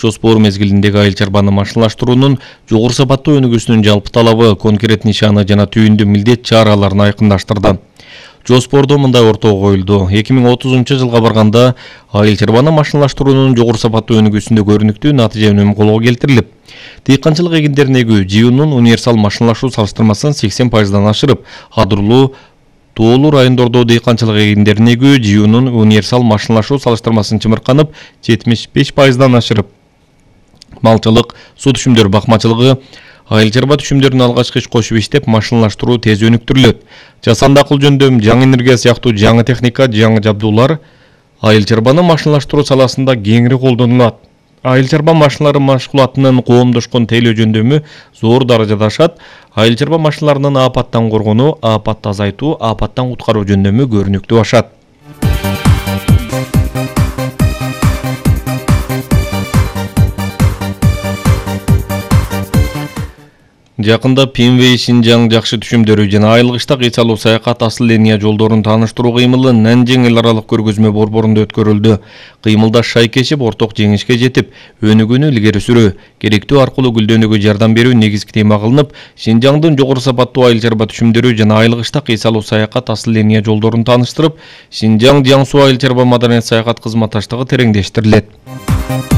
жоспор мезгилиндеги айыл чарбаны машиналаштыруунун жогору сапаттуу өнүгүүсүнүн жалпы талабы, конкрет нишаны жана түйүндүү милдет чараларын айкындаштырды. Жоспордо мындай ортого коюлду. 2030-жылга барганда айыл чарбаны машиналаштыруунун жогору сапаттуу өнүгүүсүндө көрүнүктүү натыйжа өнүмү колго келтирилип, дыйканчылык эгиндерин эгүү жыюунун универсал машиналашуу салыштырмасын 80% ашырып, кадырлуу тоолуу райондордо дыйканчылык эгиндерин эгүү жыюунун универсал машиналашуу салыштырмасын чымырканып 75% ашырып, малчылык, суу түшүмдөр бакмачылыгы, айыл чарба түшүмдөрүн алгачкы иш кошуп иштеп, машиналаштыруу тез өнүктүрүлөт. Жасанды акыл жөндөм, жаңы энергия сыяктуу жаңы техника, жаңы жабдуулар айыл чарбаны машиналаштыруу саласында кеңири колдонулат. Айыл чарба машиналары машгулатынын коомдошкон тейлөө жөндөмү зор даражада ашат. Айыл чарба машиналарынын апаттан коргонуу, апатты азайтуу, апаттан куткаруу жөндөмү көрүнүктүү ашат. Жакында Пинвей Шинжаң жакшы түшүмдөрү жана айылгычта кыйсалуу саякат асыл линия жолдорун тааныштыруу кыймылы Нанжиң эл аралык көргөзмө борборунда өткөрүлдү. Кыймылдаш шайкешип, орток жеңишке жетип, өнүгүүнү илгери сүрүү, керектүү аркылуу гүлдөнүүгө жардам берүү негизги тема кылынып, Шинжаңдын жогору сапаттуу айыл чарба түшүмдөрү жана айылгычта кыйсалуу саякат асыл линия жолдорун тааныштырып, Шинжаң Жаңсу айыл чарба маданият саякат кызматташтыгы тереңдештирилет.